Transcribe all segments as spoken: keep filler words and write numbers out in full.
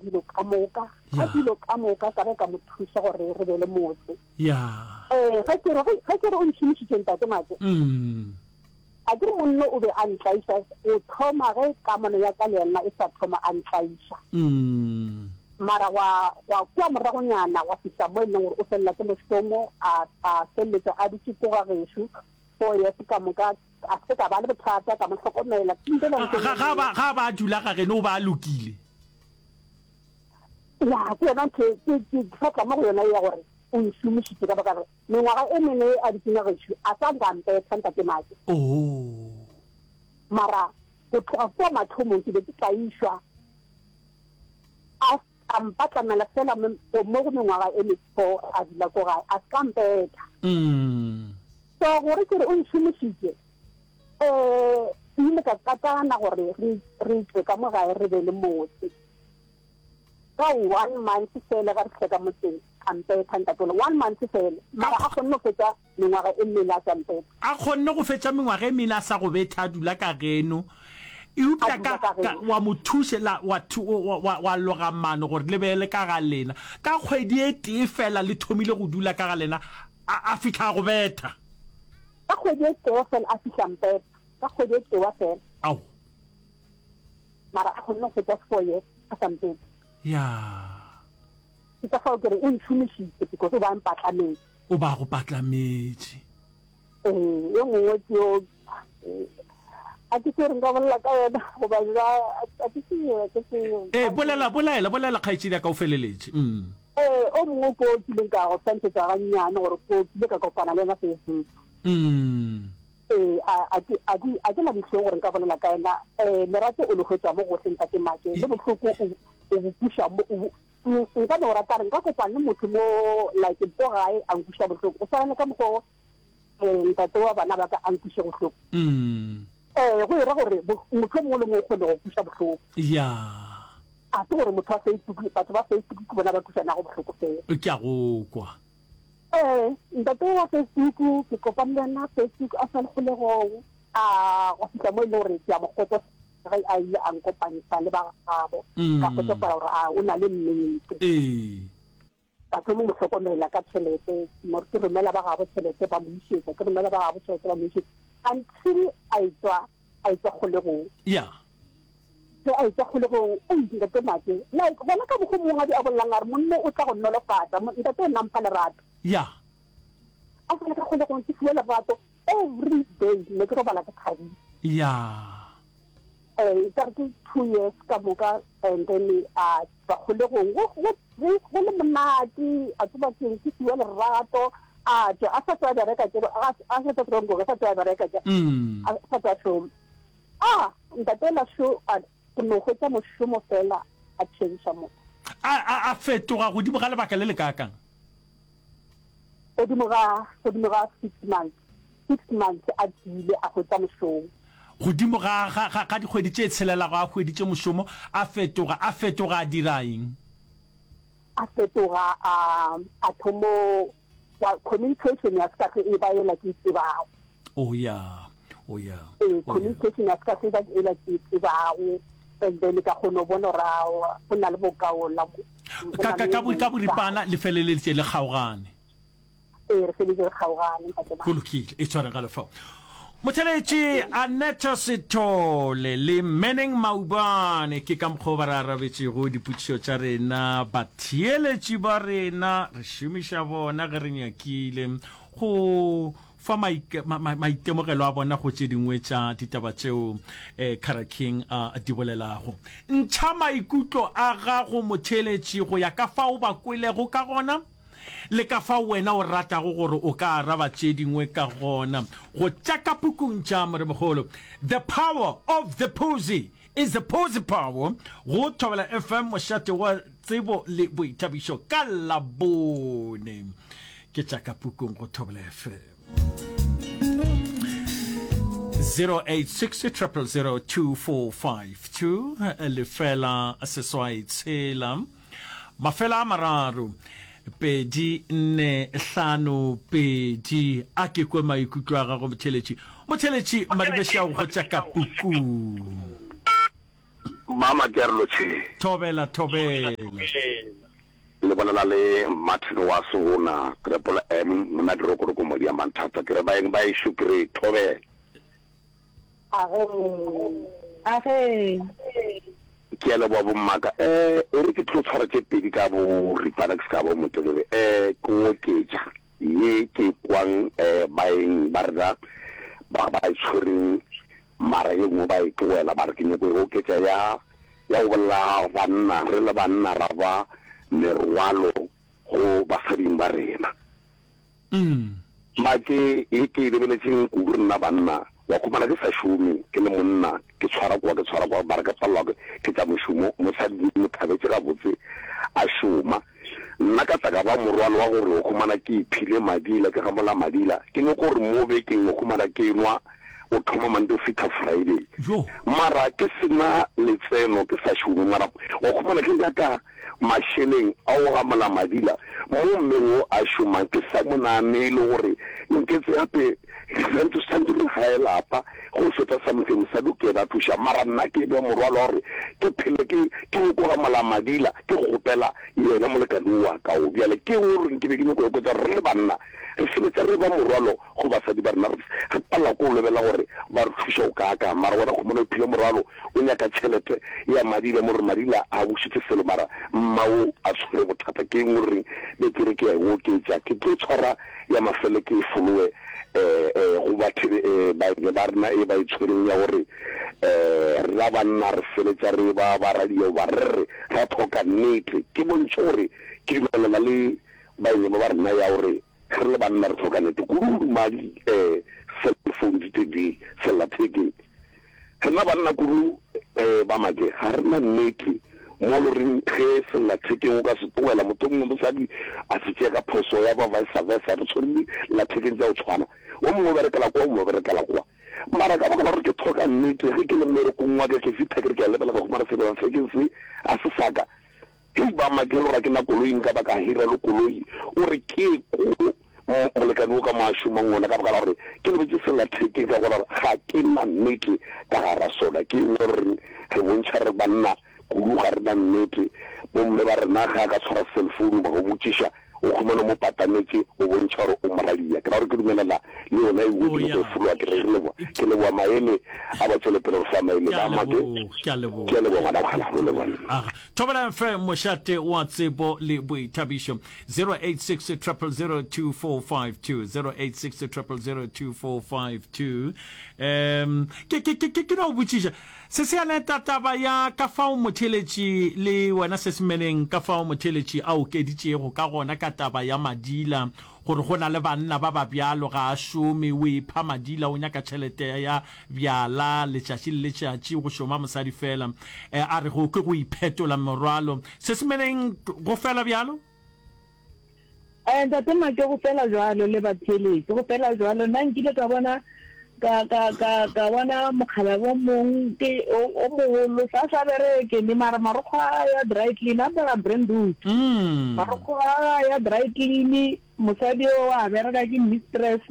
dilo ka moka ka Ya. dilo ka moka ka be ka mo thuša gore re be le motse Ya. um ge ke re ge ke re o ntšhomišitše ntate Make Mm. a ke re monno o be a ntlaiša go thoma ge kamano ya ka le yena e sa thoma a ntlaiša Mm. mara wa wa kua moragonyana wa fihla mo e leng gore o felela ke mošomo a a feleletša a dutše ko ga gešo four years ka moka a se ka ba le bothata ka mo hlokomela ke ntse Ga ga ga ba ga ba dula ga geno o ba a lokile. ya ke yona ntho e- ke ke ke tla mo go yona ya gore o nšomišitše ka baka gore mengwaga e mengwe a dutseng ga gešo a sa nka mpetha ntate Make Oh. mara go tloga kua mathomong ke be ke tlaišwa a a mpatlamela fela mo mo go mengwaga e me-four a dula ko gae a se ka mpetha Mm. so gore ke re o nšomišitše um ke ile ka katana gore re re tswe ka mo gae re be le motse ka one month fela ga re fihla ka motseng a mpetha ntatole one month fela mara a kgonne go fetša mengwaga e mmele a sa mpetha A kgonne go fetša mengwaga e mene a sa go betha a dula ka geno. Eupša A dula ka ka ka geno. wa mo thuše la wa thu wa wa wa loga mano gore le be le ka ga lena. Ka kgwedi e tee fela le thomile go dula ka ga lena a a fihla a go betha. ka kgwedi e tee fela a fihla mpetha ka kgwedi e tee fela Ao. mara a kgonne go fetša four years a sa mpethe Ya. ke ka fao ke re o ntšhomišitše because o ba mpatlametse O ba go patlametše. ee e nngwe ke yo eh, a ke se re nka bolela ka yona goba jwa a ke se a ke se Eh bolela bolela bolela kgaetšedi ya ka o feleletše. Mm. ee o mongwe ko kileng ka go swantšhetša gannyane gore ko kile ka kopana le yena Facebook Mm. ee a a ke a ke a ke na dihlong gore nka bolela ka yena um lerato o le hwetša mo gohle ntate Make le bohloko o o bo kuša mo o bo- n- nka no rata re nka kopana le motho mo like ko gae a nkuša bohloko go swana le ka mokgwa um ntate wa bana ba ka a nkuše bohloko Mm. ee go ira gore bo- motho o mongwe le mongwe o kgone go kuša bohloko Ya. a se gore motho wa Facebook batho ba Facebook ke bona ba kušanago bohloko fela Ke a go kwa. ee ntate wa Facebook ke kopane le yena Facebook a sa le kgolegong a go fihla mo e leng gore ke a mo kgotso ge a ile a nkopantsha le ba gabo Mm. ka kgotsofala gore a o na le nnete Ee. ka thoma mo hlokomela ka tšhelete mo ke romela ba gabo tšhelete ba mo išetša ke romela ba gabo tšhelete ba mo išetša until a etswa a etswa kgolegong Ya. ge a etswa kgolegong o ntate Make like gona ka mokgwa mongwe a bolelang a re monno o tla go nolofatsa Mo- ntate o nna mpha lerato Ya. a sa le ka kgolegong ke fiwa lerato every day ne ke robala ke thabile Ya. um ka re ke two years ka moka and then a tswa kgolegong go go go go le monate a tseba keng ke fiwa lerato a tswa a sa tswa bereka ke a a sa tswa tronko a sa tswa bereka ke Mm. a sa tswa šoma a ntate la šo a ke no hwetša mošomo fela a change motho A a a fetoga godimo ga lebaka le le kaakang. godimo ga godimo ga six months six months a tsile a hwetša mošomo Godimo ga ga ga ga dikgwedi tše tshelelago a hweditše mošomo a fetoga a fetoga a dira eng? a fetoga a a thomo wa communication ya se ka e ba ela ke e tsebago Oh ya. Oh ya. ee Oh ya. communication ya se ka e ba ela ke e tsebago and then ka kgona go bona gore aowa, go na le bokaola mo go Ka na ka le ka bo ka boripana le feleleditše le kgaogane. ee re feleditše re kgaogane ntate Go lokile, e tshware ga lefao. Motheletši Annette Sithole le Manning Maubane ke ka mokgwa o ba re arabetšego dipotšišo tša rena batheeletši ba rena re šomiša bona ge re nyakile go fa maike- ma- ma- maitemogelo a bona go tše dingwe tša ditaba tšeo eh, Cara King a di bolelago. Ntšha maikutlo a gago motheeletši go ya ka fao ba kwelego ka gona le ka fao wena o ratago gore o ka araba tše dingwe ka gona go tša ka pukung tša moremogolo The Power of the Posse is the Posse Power go Thobela F M mošate wa tsebo le boithabišo ka Labone ke tša ka pukung go Thobela F M zero eight six triple zero two four five two lefela seswai tshela mafela a mararo pedi nne hlano pedi a ke kwe maikutlo a gago motheletši motheletši Maribeši a go tša ka pukung. Mama ke a re lotšheng. Thobela, thobela. Le bolela le Martin wa Sehona, Triple M, monna Dirokoroko Modia Manthata. Ke re baeng ba ešo ke re thobela. Agee. Agee. Ke a leboga bommaka. Eh, e re ke tlo tshwara tše pedi ka boripana ke se ka ba o motelele. Eh, ke oketša ye ke kwang eh baeng ba rena ba ba e tshwereng mara ye nngwe ba e tlogela ba re ke nyako e oketša ya ya go bolela banna re le banna ra ba merwalo go basading ba rena. Make ye ke e lebeletšeng kudu rena banna wa khumana ke sa šome ke le monna ke tshwara kwa ke tshwara kwa mara ke palelwa ke tša mošomo mosadi ke mo thabetše gabotse a šoma nna ka tla ka ba morwalo wa gore o khumana ke iphile madila ke gamola madila ke nyoko gore mo bekeng o khumana ke nwa o thoma Monday o fihla Friday mara ke sena letseno ke sa šome mara wa khumana ke nyaka mašeleng a go gamola madila mo mmeng wo a šomang ke sa mo naganele gore nketse gape santse santse re gae lapa go feta something mosadi o ke yena a thuša mara nna ke be morwalo wa gore ke phele ke ke nyoko gamola madila ke kgopela yena molekane wa ka o bjale ke eng o reng ke be ke nyoko oketsa gore re le banna re feletša re ba morwalo go basadi ba rena re palelwa ke go lebelela gore ba re thuša go kaakang mara wena khumana o iphile morwalo o nyaka tšhelete ya madila mo re madila a bušitše selo mara mma o a tshwere bothata ke eng o reng be ke re ke ya e oketša ke tlo tshwara ya mafelo ke e folowe um go batho baeng ba rena e ba e tshwereng ya gore um rena banna re feletša re ba ba radio ba re re ra tlhoka nnete ke bontšhe gore ke dumelana le baeng ba ba rena ya gore re le banna re tlhoka nnete kudu madi um cellphone di tedi sellathekeng rena banna kudu um ba make ga rena nnete mo lo reng ge sellathekeng o ka se tlogela motho mongwe mosadi a se tšea ka phoso ya ba vice versa re tshwere dillathekeng tša go tshwana o mongwe o berekela kwa o mongwe o berekela kwa mara ka baka la gore ke tlhoka nnete ge ke le mmerekong wa ka ke fihla ke re ke a lebelela ka humana sellathekeng se a se saka hei ba make le gore ke na koloi nka ba ka hira le koloi o re ke ko molekane o ka mo a šomang ona ka baka la gore ke lebetse sellathekeng ka gona ga ke na nnete ka gara sona ke engwe re reng re bontšha re banna kudu ga rena nnete bomme ba rena ge a ka tshwara cellphone ba go botšiša o khumana mo patametše o bontšha gore o moradia ke ra gore ke dumelela le yona e nngwe ke nyako e folowa ke re leboa ke leboa maele a ba tšwele pele go fa maele ba make ke a leboga ke a leboga ngwana kgala leboga aga thobela F M mošate wa tsebo le boithabišo zero eight six triple zero two four five two zero eight six triple zero two four five two um ke ke ke ke no botšiša se se aneta taba ya ka fao motheeletši le wena se semeleng ka fao motheeletši a okeditšego ka gona ka taba ya madila gore go na le banna ba ba bjalo ga a šome o ipha madila o nyaka tšhelete ya bjala letšatši le letšatši go šoma mosadi fela a re go ke go iphetola morwalo se semeleng go fela bjalo. Eh, Ntate Make, go fela jwalo le batheeletši, go fela jwalo. Nna nkile ka bona ka ka ka ka bona mokgalabje o mong ke o o mogolo sa sa bereke ne mara marokgo a ya dry clean a apara brand Mm. marokgo a ya dry clean mosadi o a bereka ke mistress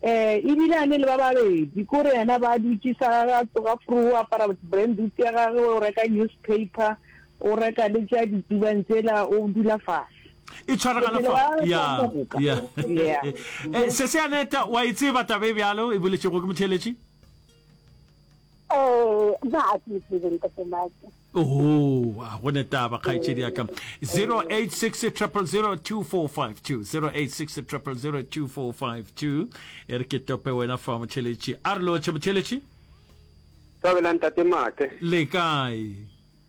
eh ebile a ne le ba babedi kore yena ba dutše sa a tsoga fru o apara brand ya gagwe o reka newspaper o reka le tša ditubang tsela o dula fase e tshwaragana fa ya ya eh se se aneta wa e tseba taba e bjalo e boletšego ke motheeletši eh ba a ke tsebe ntate Make oho a go ne taba kgaetšedi ya ka zero eight six triple zero two four five two zero eight six triple zero two four five two e re ke tope wena fa motheeletši a re lotšhe motheeletši Thobela ntate Make. Le kae?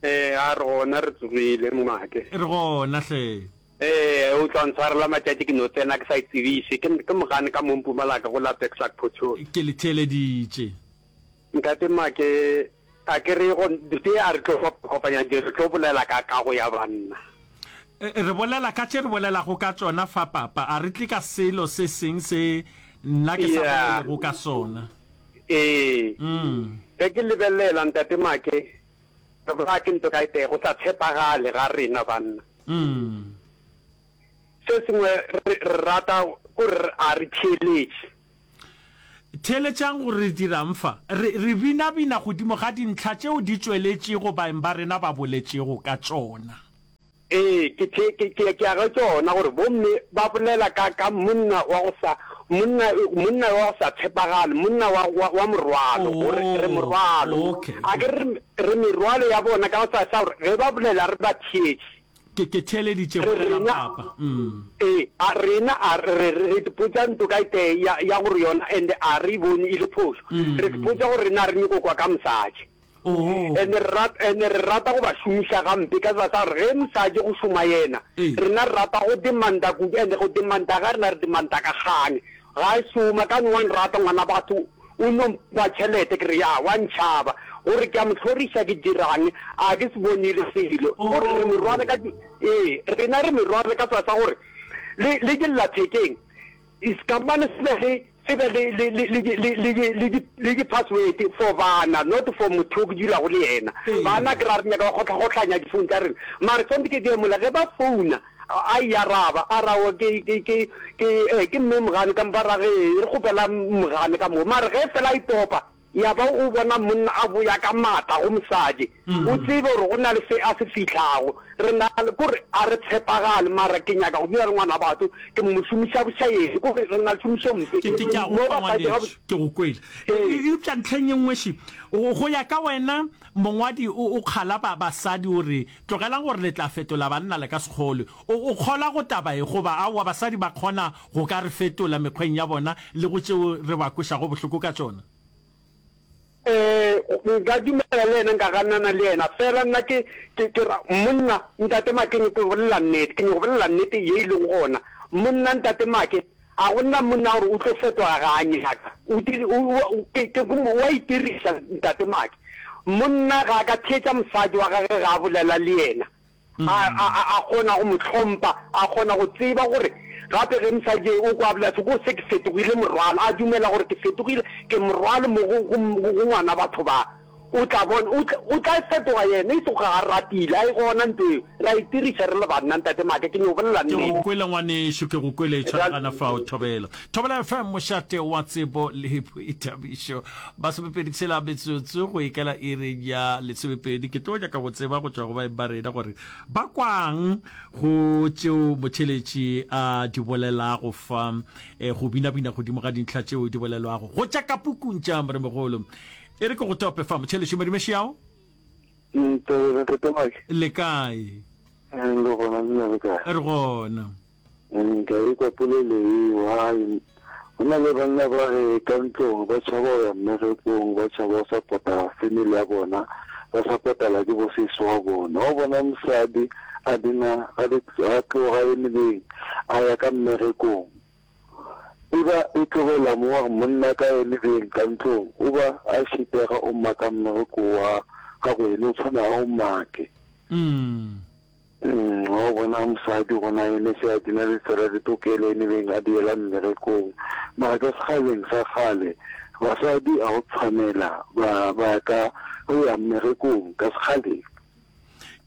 Eh a re gona re tsogile Make. Re gona hle. Ee, o tla ntshwarela matšatši ke no tsena ke sa itsebiše. Ke, ke mogane ka mo Mpumalanga go la Bexlak Potchefstroom. Ke le theeleditše. Ntate Make, a ke re go, tee a re tlo kopanya di, re tlo bolela ka kago ya banna. Re bolela ka tše re bolelago ka tšona fa, Papa. A re tle ka selo se seng se nna ke sa Yeah. bolelego ka sona. Ee. Mm. Ge ke lebelela, Ntate Make, re bolaya ke ntho ka e tee, go sa tshepagale ga rena banna. Mm. Se sengwe re, re rata kore a re theeletše. Theeletšang gore re dirang fa. Re, re binabina godimo ga dintlha tšeo di tšweletšego baeng ba rena ba boletšego ka tšona. Ee, ke the, ke, ke, ke ya go tšona, gore bomme ba bolela ka, ka monna wa go sa, monna, monna wa go sa tshepagale, monna wa, wa, wa morwalo, gore re Oh, morwalo. okay, A ke okay. re, re merwalo ya bona ka go sa, sa gore ge ba bolela re ba theetše. Ke, ke theeleditše Re, bolela rena, papa. Mm. ee, a rena, a re, re, re ipotša nto ka e tee ya, ya gore yona, and a re e bone e le phošo. Re ipotša gore rena re nyoko kwa ka mosadi. And re rata, and re rata go ba šomiša gampe ka tsela sa gore ge mosadi go šoma yena, rena re rata go demanda kudu, and go demanda ga rena re demanda ka kgang. Ga a šoma ka wa nrata ngwana batho o no mpha tšhelete ke re ya wa ntšhaba gore ke a mo hloriša ke dirang a ke se bonile selo gore re merwale ka ee rena re merwale ka tsela sa gore le le dillathekeng Sekamane se be le se be le le le le le le le le di le di password for bana not for motho yo ke dulago le yena. Bana ke ra re nyaka go kgohlagohlanya di phone tša rena mare tshwanetse ke die mola ge ba founa a e araba a ra o ke ke ke ke eh ke mme Mogane ka mpa ra ge re kgopela Mogane ka mo mare ge fela a itopa Ya ba o bona monna a boya ka maatla go mosadi, o tsebe gore go na le se a se fihlago. Re na le, kore a re tshepagale, mara ke nyaka go dula le ngwana batho, ke mo šomiša bošaedi, kore re na le tšhomišo mpe. Ke, ke, ke a go Mo kwa, basadi ga ngwanešu, ke go kwele. Ee. Eupša ntlheng ye nngwe še, go, go ya ka wena, mongwadi o, o kgala ba, basadi o re, Tlogelang gore le tla fetola banna le ka se kgolwe. O, o kgolwa go taba ye, goba aowa, basadi ba kgona go ka re fetola mekgweng ya bona le go tšeo re ba kwešago bohloko ka tšona? Ee, nka dumela le yena, nka ganana le yena. Fela nna ke, ke, ke ra, monna, Ntate Make, ke nyoko bolela nnete, ke nyoko bolela nnete ye e lego gona. Monna, Ntate Make, a go na monna gore o tlo fetoga ga a nyaka. O diri, o, o, ke, ke, o a itiriša, Ntate Make. Monna ga a ka theetša mosadi wa gagwe ga a bolela le yena. A, a, a, a kgona go mo hlompha, a kgona go tseba gore gape ge mosadi o kwa bolela se, ko se ke fetogile morwalo, a dumela gore ke fetogile, ke morwalo mo go, go, go ngwana batho ba. O tla bona, o tla, o tla fetoga yena, e sego ga a ratile, a e gona nto eo. Re a itiriša re le banna, Ntate Maake, ke nyoko bolela Ke go nnete. kwele ngwanešu, ke go kwele, tshwaragana fao, Thobela. Thobela F M, mošate wa tsebo le boithabišo. Masomepedi tshela metsotso go ikela iring ya lesomepedi. Ke tlo nyaka go tseba go tšwa go baeng ba rena gore ba kwang go tšeo motheeletši a di bolelago fa, eh, go binabina godimo ga dintlha tšeo di bolelwago go tša ka pukung tša Moremogolo. E re ke go tope fa, motheeletši Madimešiao. Ntobela Ntate Mike. Le kae? Re gona, lena le kae? Re gona. Ka ekwa polelo eo, hai, go na le banna ba re ka ntlong ba tšhaba go ya mmerekong, ba tšhaba go sapota family ya bona, ba sapotela ke bo sesi wa bona. Wa bona mosadi a dina a tloga enebeng a ya ka mmerekong, e ba e tlogela mo wa monna ka enebeng ka ntlong, o ba a šitega o maka mmereko wa gagwe ene o tshwana a o make. Umm wa bona mosadi gona ene se a dina le tsela le tokelo ene beng a diela mmerekong mara ka sekgaleng sa kgale basadi a go tshwanela ba ba ka go ya mmerekong ka sekgaleng.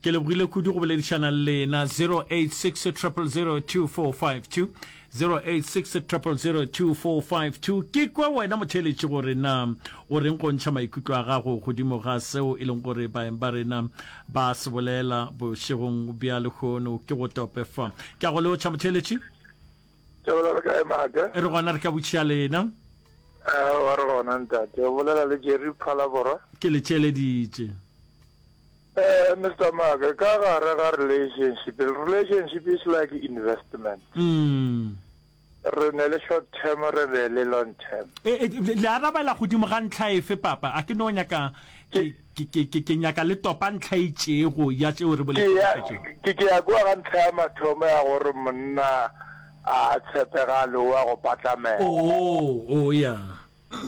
Ke lebogile kudu go boledišana le lena. Zero eight six triple zero two four five two, zero eight six triple zero two four five two. Ke kwe wena motheeletši gore na o reng go ntšha maikutlo a gago godimo ga seo e leng gore baeng ba rena ba se bolela bošegong bja lehono. Ke go tope fa. Ke a go lotšha motheeletši. Thobela le kae Maake? Re gona re ka botšiša lena. Aowa re gona ntate. O bolela le Jerry Phalaborwa. Ke le tšeleditše. Eh Mister Maake, ka gare ga relationship, relationship is like investment. Mm. Re ne le short term, re be le long term. E, e, le arabela godimo ga ntlha efe, Papa? A ke no nyaka, ke, ke, ke, ke, ke nyaka le topa ntlha e itšego ya tšeo re Ke boletšego ya, ka tšeo. ke, ke ya kua ga ntlha ya mathomo ya gore monna a tshepegale o a go patlamela. Oo, oo, ya.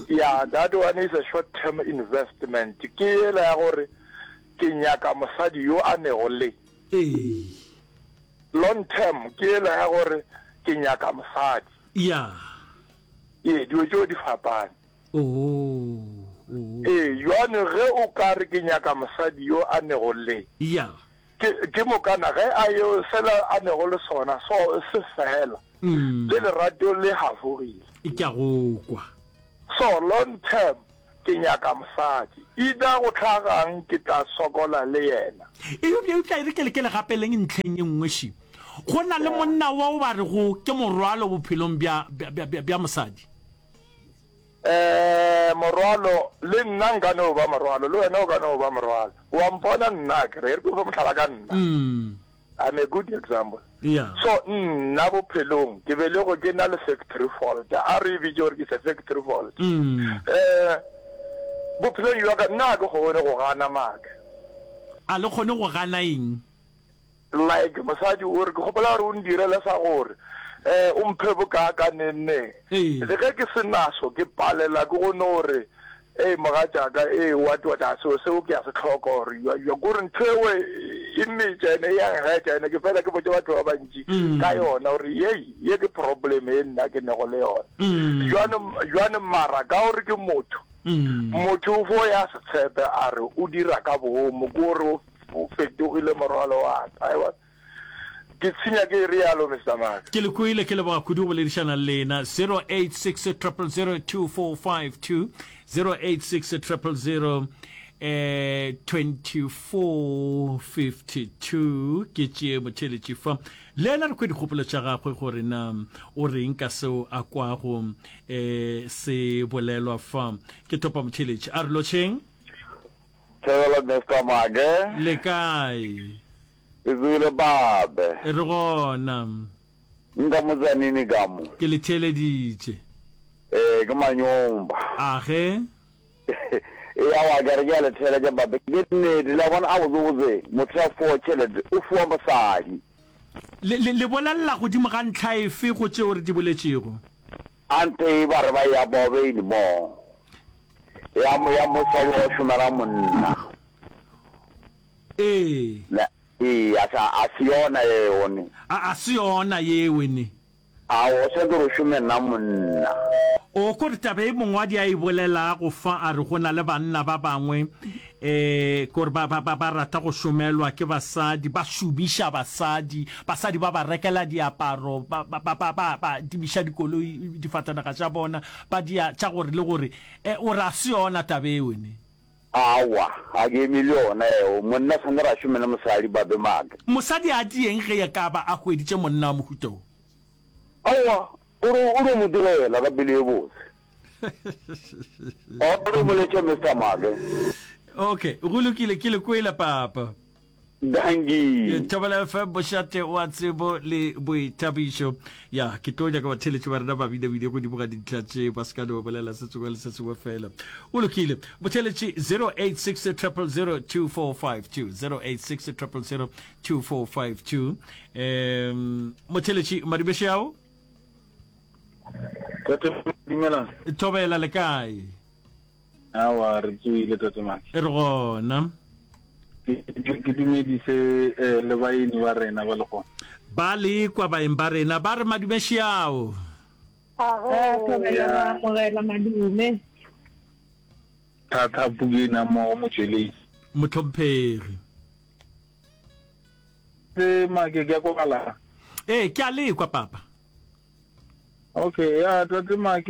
Ya, that one is a short term investment. Ke yela ya gore ke nyaka mosadi yo a nego le. Ee. Long term ke yela ya gore ke nyaka mosadi. Ya. Ee, dilo tšeo di fapane. Oo, oo. Ee, jwale ge o ka re ke nyaka mosadi yo a nego le. Ya. Ke, ke mokana ge a yo sela a nego le sona, so se fela. Mm. Le lerato le hafogile. Ke a go kwa. So long term ke nyaka mosadi. Either go hlagang ke tla sokola le yena. Eupša, eupša e re ke le, ke le gapeleng ntlheng e nngwe še. Go na le monna wo ba rego ke morwalo bophelong bja, bja, bja, bja, bja mosadi. Eh, morwalo, le nna nka no ba morwalo, le wena o ka no ba morwalo. Wa mpona nna, ke re, e re ke go fe mohlala ka nna. I'm a good example. Yeah. So nna bophelong ke belegwe ke na le factory fault, a re e bitše gore ke se factory fault. Eh, bophelong bja ka nna ga ke kgone go gana maaka. A le kgone go gana eng? Like mosadi o re ke kgopela gore o ndirele sa gore eh o mphe bokaaka neng neng. Le ge ke se naso ke palela ke go no re ee mogatšaka ee what what a seo seo ke a se hloka or you you kore ntho eo e mmetša ene e ya nkgetša ene ke fela ke botše batho ba bantši ka yona gore yei ye ke problem e nna ke nego le yona. Jwale jwale mara ka gore ke motho motho o fo ya se tshepe a re o dira ka boomo ke gore o O fetogile morwalo wa ka. Aewa, ke tshenya ke realo, Mister Mark. Ke le kwele, ke leboga kudu go boledišana le lena. Zero eight six triple zero two four five two, zero eight six triple zero eh twenty four fifty two. Ke tšee motheeletši fa. Le yena re kwe dikgopolo tša gagwe gore na o reng ka seo a kwago eh se bolelwa fa. Ke topa motheeletši. A re lotšheng. Thobela Mister Make. Le kae? Ke tsogile babe. Re gona. Nka mo Tzaneen ka mo. Ke le theeleditše. Ee, ke Manyomba. Age? Ee, aowa, ke re ke a le theeletša babe. Ke nnete, le a bona, gabotsebotse motho ya fowa tšhelete o fiwa mosadi. Le, le, le bolelela godimo ga ntlha efe go tšeo re di boletšego? Anthe ba re ba ya bobeini mo. Ya, ya mosadi wa go šomela monna. Ee. Le, ee, a sa, a se yona yeo ne. A, a se yona yeo ne. A o swanetše gore o šome nna monna. O ko re taba e mongwadi a e bolelago fa a re go na le banna ba bangwe eh kore ba, ba, ba, ba rata go šomelwa ke basadi, ba šomiša basadi, basadi ba ba rekela diaparo, ba, ba, ba, ba, ba, ba dimiša dikoloi, difatanaga tša bona, ba dia tša gore le gore. Eh, o re a se yona taba eo ne? Aowa, ga ke eme le yona eo. Monna swanetše gore a šome le mosadi, ba be maaka. Mosadi a dieng ge e ka ba a hweditše monna wa mohuta wo? Aowa, o re o no mo direla ka pelo ye botse. O re mo letše Mister Make. Okay, go lokile, ke le kwele papa. Dankie. Thobela F M, mošate wa tsebo le boithabišo. Ya, ke tlo nyaka batheeletši ba rena ba binabine godimo ga dintlha tše, ba se ka no bolela se sengwe le se sengwe fela. Go lokile. Motheeletši zero eight six triple zero two four five two, zero eight six triple zero two four five two. Um, motheeletši Madumešeao. Tate, dumelang. Thobela, le kae? Aowa, re tsoile, Tate Maki. Re gona. Ke, ke, ke dumedise eh, le baeni ba rena ba lehono. Ba le kwa baeng ba rena, ba re madume šiao. Eh, thobela, ra amogela madume. Thata Pukeng a mmogo motšweletši. Mohlomphegi. Se Make, ke a kwagala? Ee, ke a le kwa, Papa. Okay, ya Tate Make,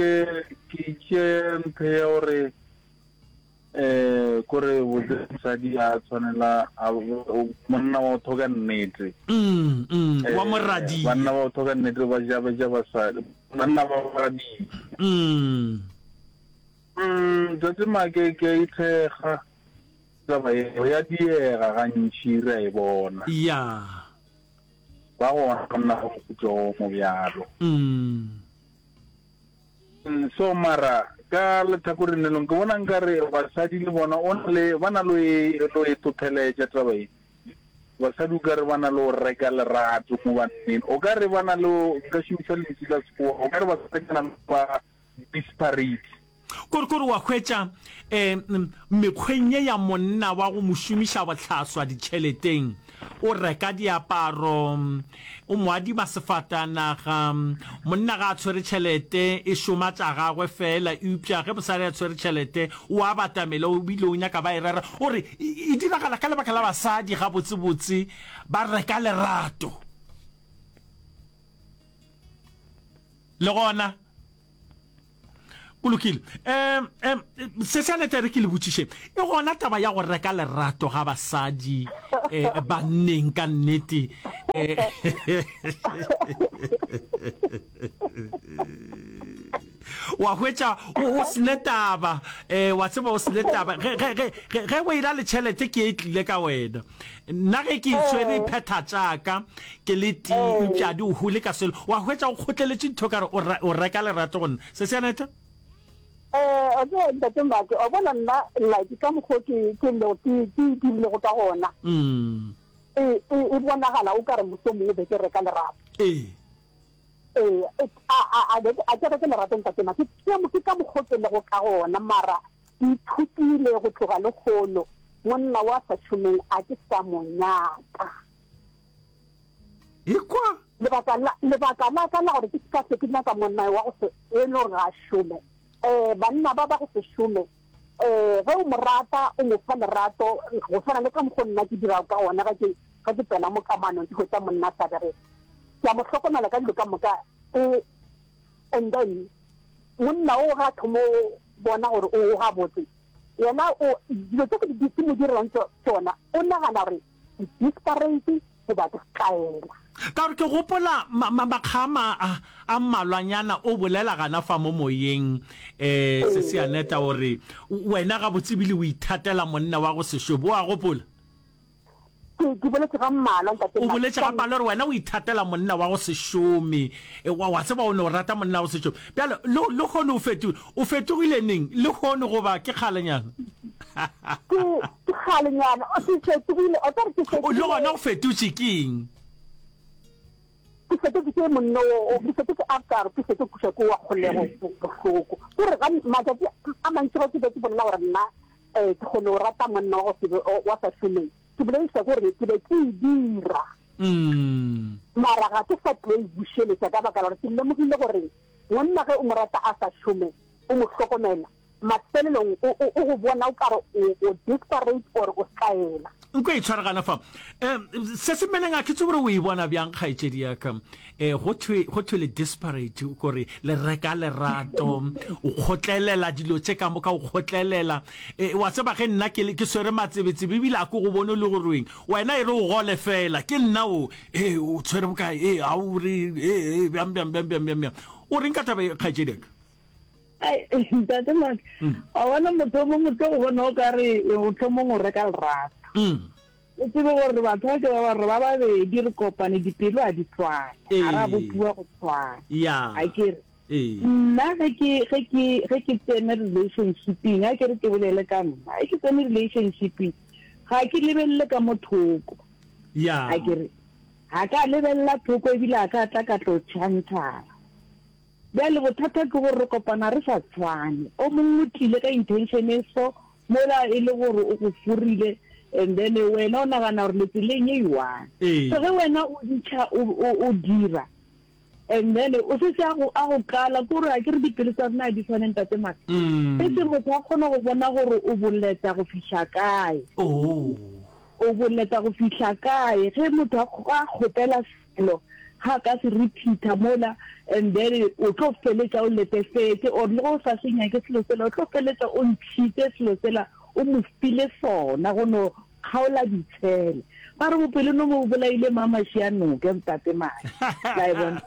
ke itše ntho ya gore eh kore botse mosadi a tshwanela a monna wa thoka nnete. Mm, mm, wa moradia. Banna ba thoka nnete ba ja ba ja basadi. Banna ba moradia. Mm. Mm, Tate Make ke a ithekga taba yeo ya diega gantši re a e bona. Ya. Ba gona banna ba mohuta o mobjalo. Mm. So mara ka lethakoreng le lengwe ke bona nkare basadi le bona o na le ba na le lo e totheletša taba e. Basadi o kare ba na le go reka lerato mo banneng. O kare ba na le nka šomiša lentšu la Sekgowa o kare basadi ba na le ba disparate. Kore, kore wa hwetša, um, mekgweng ye ya monna wa go mo šomiša bohlaswa ditšheleteng, o reka diaparo, o mo adima sefatanaga, monna ga a tshwere tšhelete, e šoma tša gagwe feela, eupša ge mosadi a tshwere tšhelete, o a batamela, o bile o nyaka ba e rera. O re, e, e diragala ka lebaka la basadi, gabotsebotse, ba reka lerato. Le gona, Go lokile. Um, um, se se aneta re ke le botšiše. E gona taba ya go reka lerato ga basadi eh, banneng ka nnete. Eh, wa hwetša o o sene taba eh, wa tseba o sene taba ge ge ge ge ge o ena le tšhelete ke e tlile ka wena nna ge ke itshwere e phetha tšaka ke le tee eupša di o hole ka selo wa hwetša o kgotleletše ntho ka re o re- o reka lerato go nna se se aneta Eh, o tseba ntate Mbake, wa bona nna like ka mokgwa o ke ke lego ke ke dirilego ka gona. Mm. E e e bonagala o ka re mohlomongwe be ke reka lerato. Ee. Ee, a a a a ke reke lerato ntate Maki, ke ke ka mokgwa o ke lego ka gona, mara ke ithutile go tloga lehono, monna wa sa šomeng a ke sa mo nyaka. Ekwa. Lebaka la lebaka la ka la gore ke se ka hlwe ke nyaka monna wa go se e le gore ga a šome, um banna ba ba go se šome, um ge o mo rata o mo fa lerato go swana le ka mokgwa nna ke dirago ka gona ge ke ge ke tsena mo kamanong ke hwetša monna a sa bereke. Ke a mo hlokomela ka dilo ka moka e and then monna o ga thomo bona gore o gabotse yena o dilo tse ke di ke mo direlang tšona o nagana gore ke desperate goba ke tlaela. Ka gore ke gopola makga a a mmalwanyana o bolela gana fa mo moyeng um Sesi Aneta o re wena gabotse ebile o ithatela monna wa go se šobe, o a gopola? Ke, ke boletše ga mmalwa, Ntate O boletše ga mmalwa gore wena o ithatela monna wa go se šome. E, wa, wa tseba o no rata monna wa go se šome. Bjale, le, lehono o feto, o fetogile neng? Lehono goba ke kgalenyana? Ke, ke kgalenyana. O, ke fetogile, o tla re ke O, le gona o fetotše ke eng? Ke fetotše ke monna o, o, ke fetotše after, ke fetotše kuša ke wa kgolego bohloko. Ke gore ga, matšatši a mantši ge ke be ke bolela gore nna, eh, ke kgone go rata monna wa go se be, wa sa šomeng, Ke bolediša gore ke be ke e dira, mara ga ke sa tlo e bušeletša ka baka la gore ke lemogile gore monna ge o mo rata a sa šome, o mo hlokomela, mafelelong o, o, o go bona o ka re o, o desperate or o tlaela. Nko e tshware gana fa. Um, se se mmeleng a ke tsebe gore o e bona bjang kgaetšedi ya ka. Um, go thwe, go thwe le desperate, kore le reka lerato, o kgotlelela dilo tše ka moka, o kgotlelela. E, wa tseba ge nna ke, ke swere matsebetsebe ebile a ke go bone le gore eng. Wena e re o gole fela, ke nna o, e, o tshwere bokae, e, a o re, e, e, bjang, bjang, bjang, bjang, bjang, bjang. O reng ka taba e, kgaetšedi ya ka? Ai, ntate Mark, wa bona motho o mongwe o tlo go bona o ka re mohlomong o reka lerato. O tsebe gore batho ba ke ba ba re ba babedi re kopane dipelo a di tshwane, ga ra bopiwa go tshwana. A ke re nna ge ke ge ke ge ke tsene relationshipeng, a ke re ke bolele ka nna, ge ke tsene relationshipeng ga ke lebelele ka mo thoko. A ke re ga ka lebelela thoko ebile a ka tla ka tlo tšhantšhara. Bjale bothata ke gore re kopana re sa tshwane. O mongwe o tlile ka intention e so, mola e le gore o go forile and then wena o nagana gore le tseleng e one. So ge wena o ditšha o, o, o dira and then o setse a go, a go kala, ke gore a ke re dipelo tsa rena ga di tshwane Ntate Maka. Setse motho a kgona go bona gore o boleta go fihla kae. O boleta go fihla kae ge motho a, a kgopela selo ga a ka se repeater mola and then o tlo feletša o letefetše or le ge o sa se nyake selo sela o tlo feletša o ntšhitše selo sela o mo file sona go no kgaola ditshele. Ba re bopelonomi bo bolaile Mamašianoke Ntate Madi. La e bona?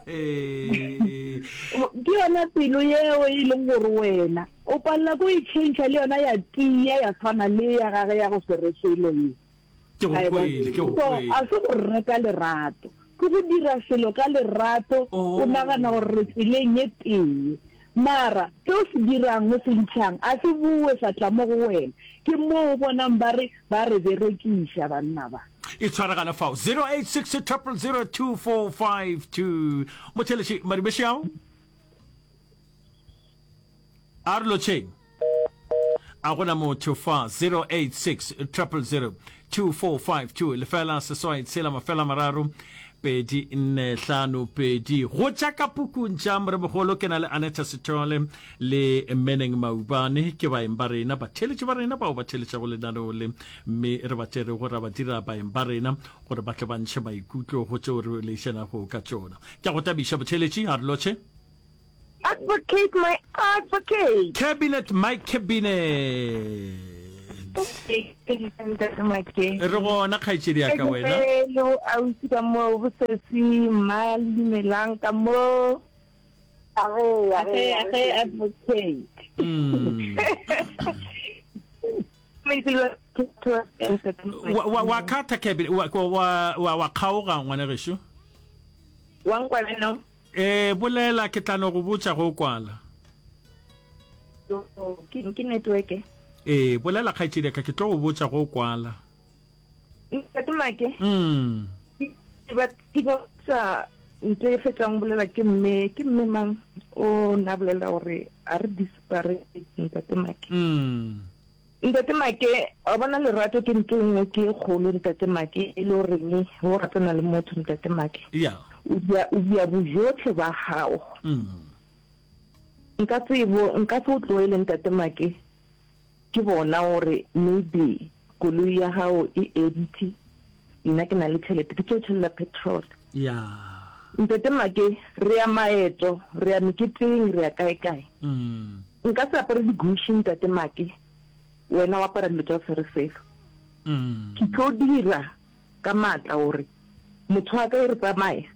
Ke yona pelo yeo e leng gore wena o palela ko e tšhentšha le yona ya tia ya tshwana le ya gage ya go se re selo ye. Ke go kwele, ke go So, kwele. a se go reka lerato, ke go dira selo ka lerato, o nagana gore re tseleng ye tee. Mara, se o se dirang, o se ntšhang, a se bowe sa tla mo go wena. Ke moo o bonang ba re, ba re berekiša banna ba. E tshwaragane fao, zero eight six triple zero two four five two. Motheeletši, Madumešao. A re lotšheng. A gona motho fa zero eight six triple zero two four five two lefela seswai tshela mafela mararo pedi nne hlano pedi. Go tša ka pukung tša Moremogolo ke na le Aneta Sithole le Meneng Maubane ke baeng ba rena, batheeletši ba rena bao ba theeletšago lenaneo le, mme re ba tšerego ra ba dira baeng ba rena gore ba tle ba ntšhe maikutlo go tšeo re leišanago ka tšona. Ke a go tabiša botheeletši, a re lotšhe. Advocate my advocate. Cabinet my cabinet. Re gona kgaetšedi ya ka wena. Le ausi ka mo bosesi mma le dumelang ka mo. Age age age advocate. Mm. Wa wa khatha cabinet wa wa wa kgaoga ngwana gešo. Wa nkwa beno? Ee, bolela, ke tla no go botša ge o kwala. Yo, ke, ke network. Ee, bolela kgaetšedi ya ka, ke tlo go botša ge o kwala. Ntate Make. Mm. Ke ba, ke ba botša ntho e fetšang go bolela ke mme, ke mme mang o na bolela gore a re disparate Ntate Make. Mm. Ntate Make, wa bona lerato ke ntho e nngwe ke e kgolo Ntate Make, e le goreng o ratana le motho Ntate Make. Yeah. O dia, o dia bojotlhe ba gago. Mm. Nka tsebo, nka se o tloele Ntate Make, ke bona gore maybe koloi ya gago e empty, nna ke na le tšhelete, ke tlo tšhelela petrol. Yeah. Ntate Make, re ya maeto, re ya meketeng, re ya kae kae. Mm. Nka se apare di-Gucci Ntate Make, wena o apara dilo tša go se re selo. Mm. Ke tlo dira ka maatla gore motho wa ka e re tsamaya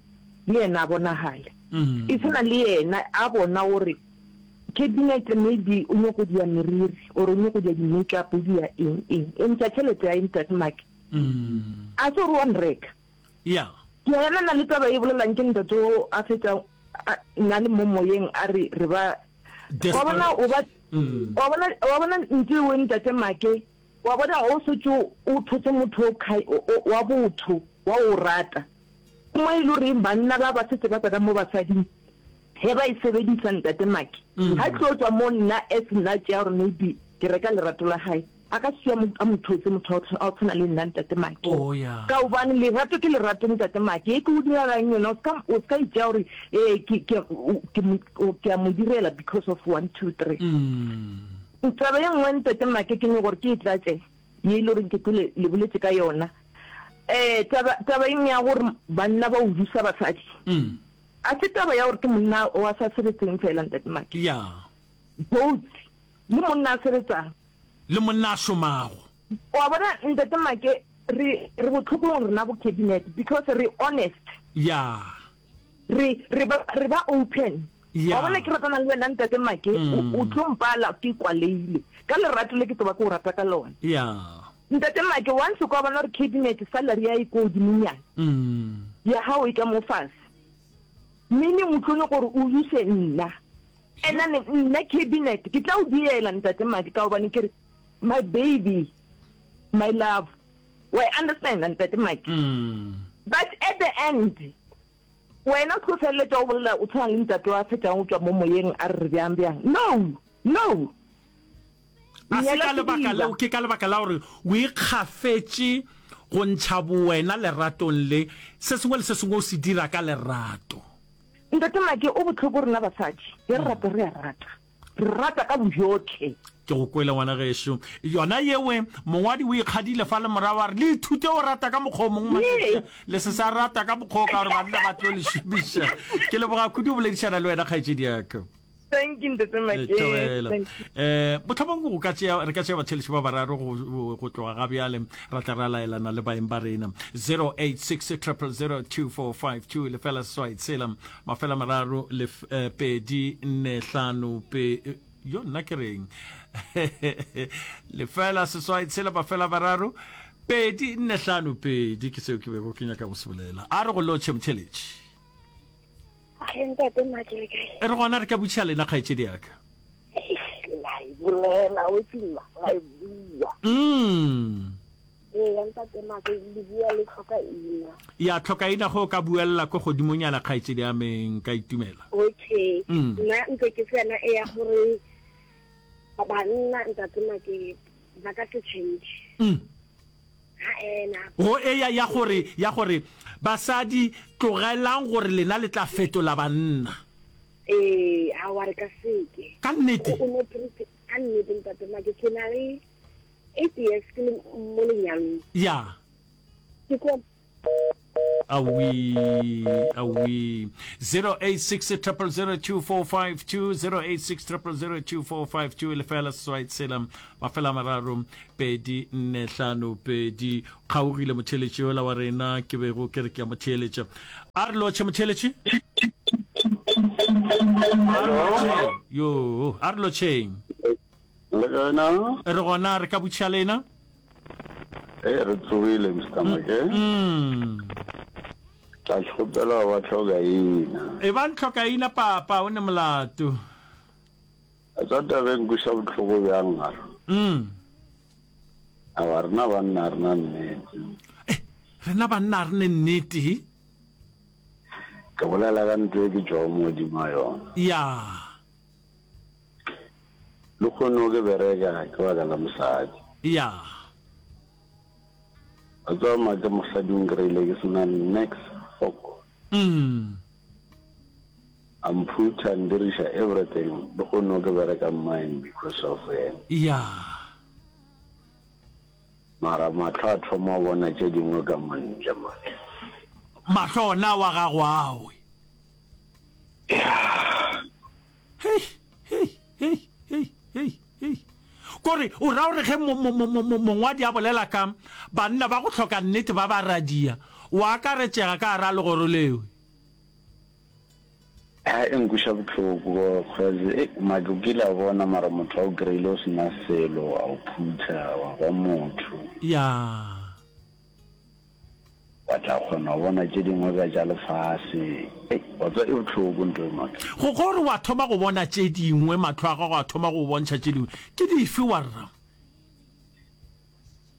le yena a bonagale. Mm. E tshwana le yena a bona gore cabinet maybe o nyoko dia meriri or o nyoko dia di-makeup o dia eng eng, o ntša tšhelete ya Ntate Make. Mm. A se gore wa nreka. Yeah. Ke a elana le taba e bolelang ke ntate o a fetša nna le mo moyeng a re re ba wa bona o ba Mm. wa bona wa bona ntse o ntate Make wa bona o setse o thotse motho o khai wa botho wa o rata mo e le gore banna ba ba setse ba tsena mo basading he ba e sebedisa ntate Make Mm. ha tlo tswa mo nna as nna tšea gore maybe ke reka lerato la hae a ka se a mo thotse motho a o tshwana le nna ntate Make Oh yeah. ka gobane lerato ke lerato ntate Make e ke o direlang yona o ska o ska itšea gore ee ke ke ke ke a mo direla because of one two three Mm. taba ye nngwe ntate Make ke nyoko gore ke e tlatše ye e le goreng ke kwele le boletše ka yona um taba taba eng ya gore banna ba udusa basadi Mm. a se taba ya gore ke monna wa sa sebetseng fela ntate Make Yeah. both le monna a sebetsang Le monna a šomago. wa bona ntate Make re re botlhokong rena bo cabinet because re honest Yeah. re re ba re ba open Yeah. wa bona ke ratana le wena ntate Make Mm. o tlo mpala ke kwaleile ka lerato le ke tlo ba ke o rata ka lona Yeah. ntate Make once o ka bona gore cabinet salary ya e ko godimonyana Mm. ya gago e ka mo fase meaning o tlo nyaka gore o use nna and then nna cabinet ke tla o diela ntate Make ka gobane ke re my baby my love wa understand ntate Make Mm. but at the end wena o tlo feleletša o bolela o tshwana le ntate wa fetšang o tswa mo moyeng a re re bjang bjang no no A se Nyala ka lebaka sediba. leo ke ka lebaka la gore o ikgafetše go ntšha bowena leratong le se sengwe le se sengwe o se dira ka lerato. Ntate Make o bohloko rena basadi ge re rata re a rata re rata ka bojotlhe. Ke go kwele ngwana gešo. Yona yewe mongwadi o ikgadile fa le morago a re le ithute go rata ka mokgwa o mongwe Ee. le se sa rata ka mokgwa o ka gore banna ba tlo le šomiša. Ke leboga kudu go boledišana le wena kgaetšedi ya ka. Thank you ntate Make. Thobela. Thank you. Eh mohlomongwe go ka tšea re ka tšea batheletši ba bararo go go- go tloga ga bjale ra tla ra laelana le baeng ba rena zero eight six triple zero two four five two lefela seswai tshela mafela mararo lef, eh, pedi nne hlano pe eh, yo nna ke reng lefela seswai tshela mafela mararo pedi nne hlano pedi ke seo ke bego ke nyaka go se bolela a re go lotšhe motheletši Ge ntate Make le kae? E re gona re ka botšiša lena kgaetšedi ya ka. Eish, la e bolela o tsima la e bua. Mm. Ee, ya ntate Make le bua le tlhoka ina. Ya tlhoka ina go ka buella ko godimonyana kgaetšedi ya me nka itumela. Okay. Mm. Nna ntse ke tsena e ya gore banna ntate Make ba ka se change. Mm. Ha ena. Go e ya ya gore ya gore basadi tlogelang gore lena le tla fetola banna. Ee, a wa re ka seke. Ka nnete. O no treat ka nnete ntate Make ke na le eight years ke le mo lenyalong. Ya. Ke ko Awi, awi. Zero eight six triple zero two four five two, zero eight six triple zero two four five two, lefela seswai tshela, mafela mararo, pedi nne hlano pedi. Kgaogile motheeletši yola wa rena ke bego ke re ke a mo theeletša. A re lotšhe motheeletši. A re lotšheng. Yo, a re lotšheng. Le kae na? Re gona, re ka botšiša lena? Ee, re tsogile, Mister Make. Mm. Tla kgopela ba tlhokaina. E ba ntlhokaina, papa, o ne molato. A tsa taba e nkweša bohloko bjang a re. Mm. Awa, rena banna a rena nnete. Eh, rena banna a re ne nnete. Ke bolela ka ntho e ke tšwago mo godimo ga yona. Ya. Lehono ke bereka ke baka la mosadi. Ya. Wa tseba make mosadi o nkreile ke sena nex fok. Mm. A mphutha a ndiriša everything lehono ke bereka mine because of yena. Ya. Mara mahlo a thoma go bona tše dingwe ka montle make. Mahlo ona wa gago awe. Ya. Hei, hei, hei, hei, hei, hei. Kore o ra gore ge mo, mo, mo, mo, mongwadi a bolela ka banna ba go hloka nnete ba ba radia, o akaretšega ka gara legoro leo? Ha e nkweša bohloko cause ei make o kile a bona mara motho a o kry-ile o sena selo a o phutha wa ba motho. Ya. Wa tla kgona go bona tše dingwe ka tša lefase. Ei, wa tseba e bohloko ntho e make. Go gore wa thoma go bona tše dingwe, mahlo a gago a thoma go go bontšha tše dingwe. Ke dife warra?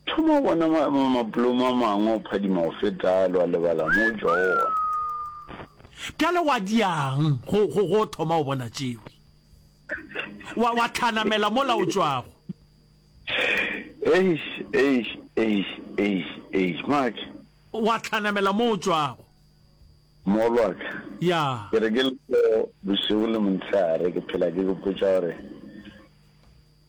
Thoma go bona ma, ma, mapolomo a mangwe o phadima go feta ale, wa lebala mo o tšwago gona. Bjale wa diang go, go, go thoma go bona tšeo? Wa, wa hlanamela mola o tšwago. Eish, eish, eish, eish, eish, Mark. Wa hlanamela mo o tšwago. Mogolwaka. Ya. Ke re ke le so bošego le montshehare ke phela ke ipotša gore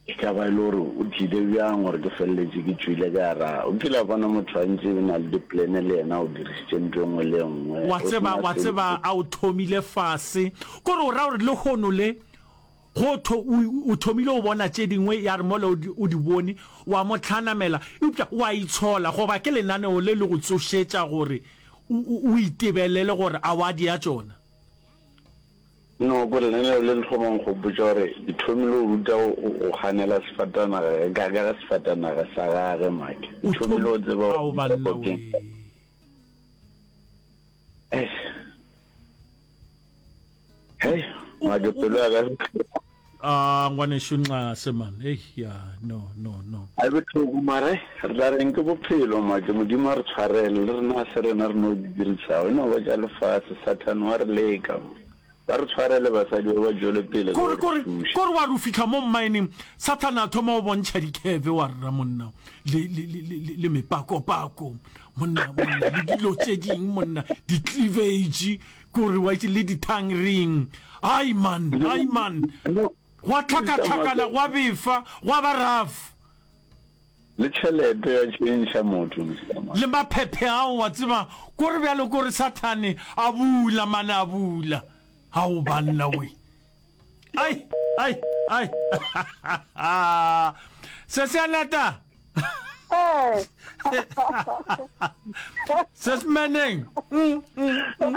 e ka ba e le gore o tlide bjang gore ke feleletše ke tšwile ka ra. O kile wa bona motho a ntše o na le diplane le yena o dirišitše ntho e nngwe le e nngwe. Wa tseba, wa tseba a o thomile fase. Kore o ra gore lehono le Go tho, o, o thomile go bona tše dingwe, ya re mola o di, o di bone, wa mo hlanamela, eupša wa itshola, goba ke lenaneo le le go tsošetša gore o, o, o itebelele gore a wa dia tšona. No, ko lenaneo le le thoma go nkgopotša gore ke thomile go ruta go, go, go ganela sefatanaga, ka, ka ga sefatanaga sa gage, make. Ke O thomile thom, go tseba ao gore banna ke. wee. Eish. Hei, make pelo ya ka e bohloko. Ah, ngwanešu Nxase man. Ei, ya, no, no, no. A e bohloko mara re tla reng ke bophelo make Modimo a re tshwarele le rena ga se rena re no di dirišago e no ba tša lefase Sathane wa re leka ba re tshwarele basadi ba ba tšwele pele ka Kore, go re kore, thuša. kore wa re o fihla mo mmaeneng, Sathane a thoma go bontšha dikheve wa rra monna, le, le, le, le, le mepakopako, monna, monna, le dilo tše ding, monna, di-cleavage, Kore wa itse le di tongue ring. Ai man, ai man. Gwa tlhakatlhakana, gwa befa, gwa ba rough. Le tšhelete ya tšhentšha motho Mister Man. Le maphephe ao wa tseba, kore bjalo kore sathane a bula mane a bula. Ao banna we. Ai, ai, ai. Se se a nata. Ee. Se se meneng. Mm, mm, mm.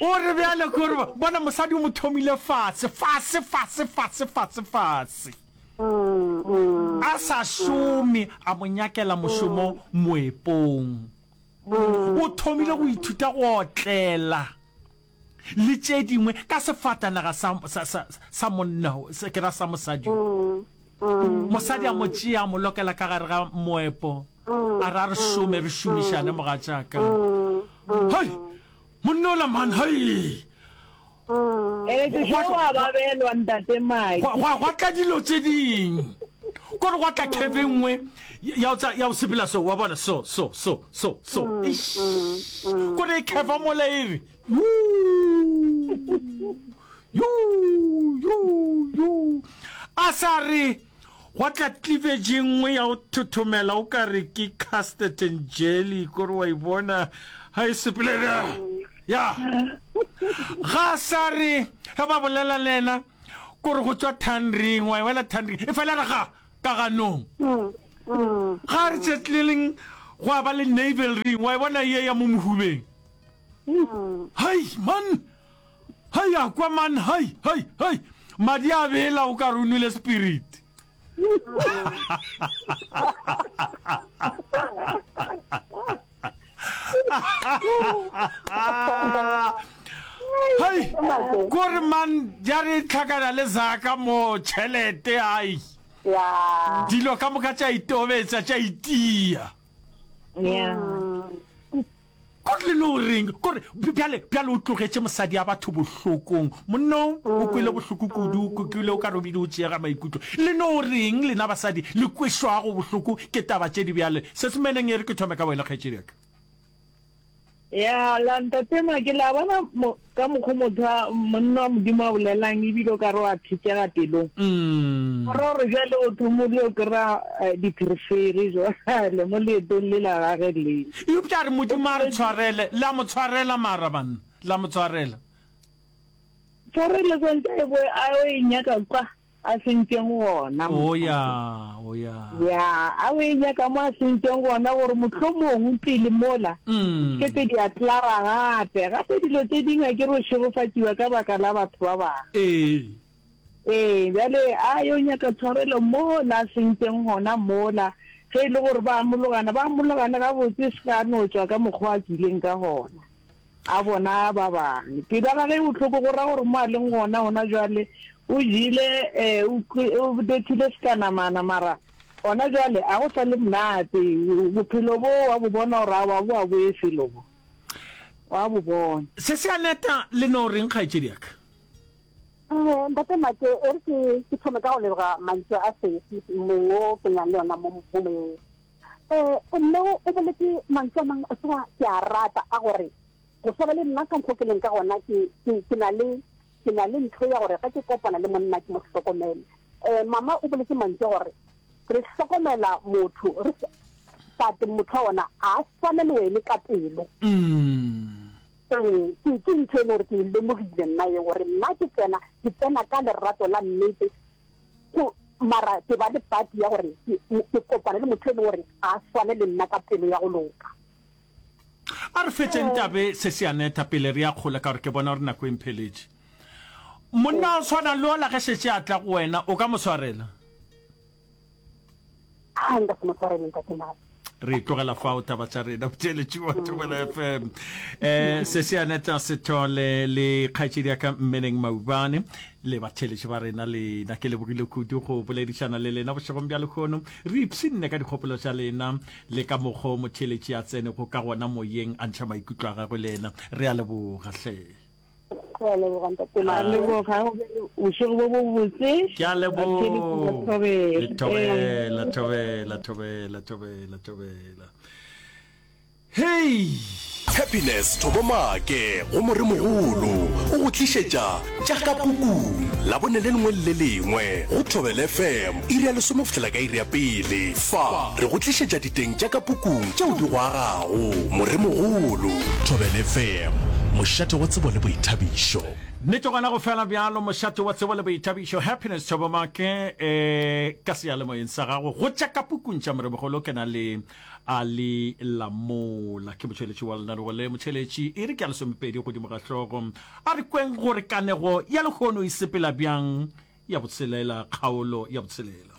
O re bjale kore bona mosadi o mo thomile fase, fase, fase, fase, fase, fase. A sa šome, a mo nyakela mošomo moepong. O thomile go ithuta go otlela le tše dingwe ka sefatanaga sa, sa, sa, sa monna, se, ke ra sa mosadi yo. Mosadi a mo tšea, a mo lokela ka gare ga moepo, a re a re šome, re šomišane, mogatšaka. Hei, monna ola man, hei! Ee, wa babelwa ntate Mike. Gwa, gwa tla dilo tše ding. Kore gwa tla curve e nngwe ya go ya go sepela so, wa bona, so, so, so, so, so. Mm, Eish. Mm, mm, Kore e curve mola e re, yuu, yuu, yuu, yuu. A sa re, Gwa tla cleavage e nngwe ya go thothomela o ka re ke custard and jelly, kore wa e bona ga e sepele. Ya. Ga a sa re ge ba bolela le yena, kore go tšwa tongue ring, wa e wela tongue ring, e fela re ga, ka ganong. Ga a re tšetleleng gwa ba le navel ring, wa e bona ye ya mo mohubeng. Hai, man! Hai, a kwa man, hai, hai, hai! Madi a bela o ka re o nwele spirit. Hai, kore man, ja re tlhakana le zaka mo tšhelete, ai. Dilo ka moka tša itobetsa, tša itia. Yeah. Kore le no reng? Kore bjale, bjale o tlogetše mosadi ya batho bohlokong. Monna o, o kwele bohloko kudu, o kwele o ka re o bile o tšeega maikutlo. Le no reng lena basadi le kwešwago bohloko ke taba tše di bjale? Se se meneng e re ke thome ka wena kgaetšedi ya ka. Ya, la Ntate Make, la bona mo, ka mokgo motho a, monna wa Modimo a bolelang ebile o ka re wa thetšega pelong. Go ra gore bjale o thomile o kry-a dipherefere jwale mo leetong le la gage le. Eupša a re Modimo a re tshwarele, la mo tshwarela mara banna, la mo tshwarela. Tshwarelo swantše a e boe a yo e nyaka kwa a sentšeng gona. O ya, o ya. Ya, a o e nyaka mo a sentšeng gona gore mohlomong pele mola ke tse di a klara gape. Gape dilo tše dingwe a ke re o šegofatšiwa ka baka la batho ba bangwe. Ee. Ee, bjale a yo nyaka tshwarelo mola a sentšeng gona mola. Ge e le gore ba amologana, ba amologane gabotse, se ka no tšwa ka mokgwa a tšwileng ka gona. A bona ba bangwe. Pelo ya gagwe e bohloko, go ra gore mo a leng gona gona jwale o jele, eh, o, o bethile sekanamana, mara gona jwale a go sa le monate. Bophelo bo wa bo bona gore aowa bo a boye felo bo. Wa bo bona. Se se a neta le no reng kgaetšedi ya ka? Eh, Ntate Make, e re ke, ke thome ka go leboga mantšu a sesi mong wo ke nang le yona mo, mo moyeng. Eh, mme o o boletše mantšu a mangwe, o tseba, ke a rata a gore go swana le nna ka mokgwa o ke leng ka gona, ke, ke, ke na le, ke na le ntho ya gore ge ke kopana le monna ke mo hlokomele. Eh, mama o boletše mantšu a gore re hlokomela motho, re sa, but motho wa gona ga a swane le wene ka pelo. Ee, ke, ke ntho e le gore ke e lemogile nna ye, gore nna ke tsena, ke tsena ka lerato la nnete, Go, mara ke ba le pati ya gore ke, ke kopane le motho e leng gore ga a swane le nna ka pelo ya go loka. A re fetšeng tabe se se Aneta pele re ya kgole ka gore ke bona gore nako e mpheletše. Monna o swana le ola ge šetše a tla go wena o ka mo swarela? A nka se mo swarele ntate Madi. Re tlogela fao taba tša rena botheeletši wa Thobela F M. Eh, se se Aneta Sethole le kgaetšedi ya ka Mmeneng Maubane le batheeletši ba rena lena ke lebogile kudu go boledišana le lena bošegong bja lehono. Re ipshinne ka dikgopolo tša lena le ka mokgo motheeletši a tsenego ka gona moyeng a ntšha maikutlo a gagwe le yena. Re a leboga hle. Re a leboga ntate Madi. A leboga, go be le bošego bo bobotse. Ke a leboga. Thobela, thobela, thobela, thobela, thobela. Hei! Happiness Thobo Maake go Moremogolo o go tlišetša tša ka pukung Labone le lengwe le le lengwe go Thobela F M iri ya lesome go fihlela ka iri ya pele. Fa re go tlišetša diteng tša ka pukung tšeo di go agago. Moremogolo. Thobela F M, mošate wa tsebo le boithabišo. Nnete gona go fela bjalo, mošate wa tsebo le boithabišo, Happiness Thobo Maake, e ka seyalemoyeng sa gago go tša ka pukung tša Moremogolo ke na le Ali Lamola, ke motšweletši wa lenanego le. Motšheletši e re ke ya lesomepedi godimo ga hlogo. A re kweng gore kanego ya lehono e sepela bjang ya botshelela, kgaolo ya botshelela.